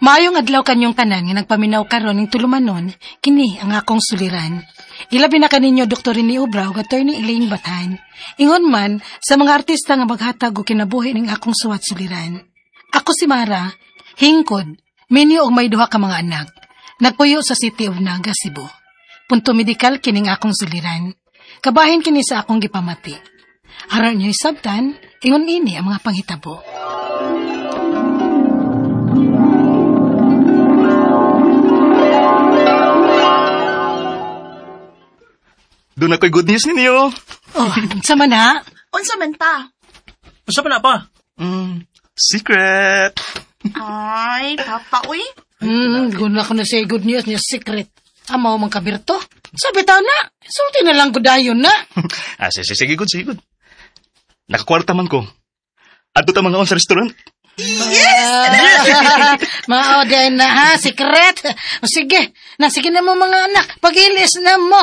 Maayong adlaw kanyong tanan nga nagpaminaw karon ning tulumanon, kini ang akong suliran. Ilabi na kaninyo Dr. Rene Obra ug Attorney Elaine Bathan. Ingon man sa mga artista nga maghatag og kinabuhi ning akong suwat suliran. Ako si Mara, hingkod, minyo og may duha ka mga anak. Nagpuyo sa City of Naga, Cebu. Punto medikal kining akong suliran. Kabahin kini sa akong gipamati. Aron niyo isabtan, ingon ini ang mga panghitabo. Doon ako'y good news ninyo. Oh, unsa man ha? Unsa man pa? Unsa man na pa? Secret. Ay, papa, uy. Guna ko na siya good news niya secret. Amaw man kabirto. Sabi ta na, sulti na lang ko dayon na. Ah, sige, sige, good, sige, good. Nakakwarta man ko. Adto ta mga on sa restaurant. Yes! Mao din na ha, secret. O sige, na sige na mo mga anak, pag-ilis na mo.